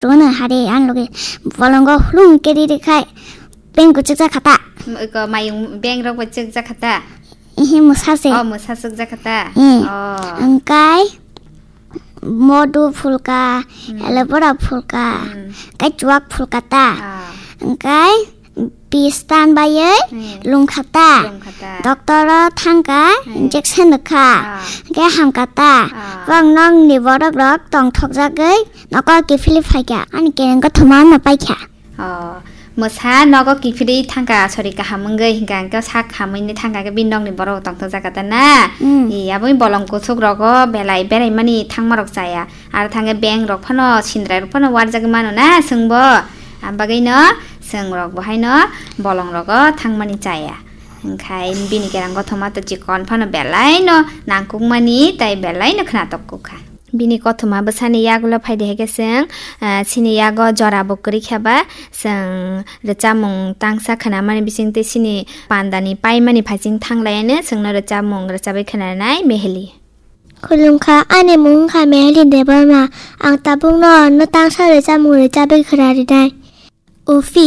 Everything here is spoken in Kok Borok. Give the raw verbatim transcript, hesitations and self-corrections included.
Rono hari an loge bolongo hulung keri rikhai beng kuchuk jakha ta. Iko mayung beng rok bai chuk jakha ta. Ihi musa se. Oh, musa chuk jakha ta. Hmm. Oh. Angkai modu phulka, Hmm. aloe vera phulka, Hmm. kai chuak phulka ta. Ah. Angkai pistan bayoi Hmm. lungkha ta. Lungkha ta. Doctor o thangka Hmm. injection rwkha. Ah. Angkai hamka ta. Ah. Bang nong ni borok rok tongthok jagoi noko kiphilwi phaikha. Ani kereng kothoma no paikha. Oh, mwsa nogo kiphilwi thangka, sorry, kaham wngwi hinkha, hwnkhe sak hamwi ni thangka khe bini nokni borok tongthok jakha ta na? Mm. Ee, aboni bolong kuchuk rogo belai beraimani thangma rok chaya. Aro thangkhe beng rok phano, sindrai rok phano warjagwi mano na chwngbo. Abagwino chwng rok bo haino bolong rogo thangmani chaya. Hwnkhe bini kerang kothoma to chikon phano belai no nangkukmani tei belai no khnatok kukha. Bini kothoma bwsani yagulo phaidi hai khe chwng, ah, chini yago jora bo kwrwi khe ba, chwng rwchapmung tangsa khwnamani bisingtwi chini pandani paimani phaising thanglaiano chwngno rwchapmung rwchapwi khwnanai Meheli. Khulumkha, ani mung wngkha Meheli Debbarma. Ang tabukno no tangsa rwchapmung rwchapwi khwnarinai. Ufi.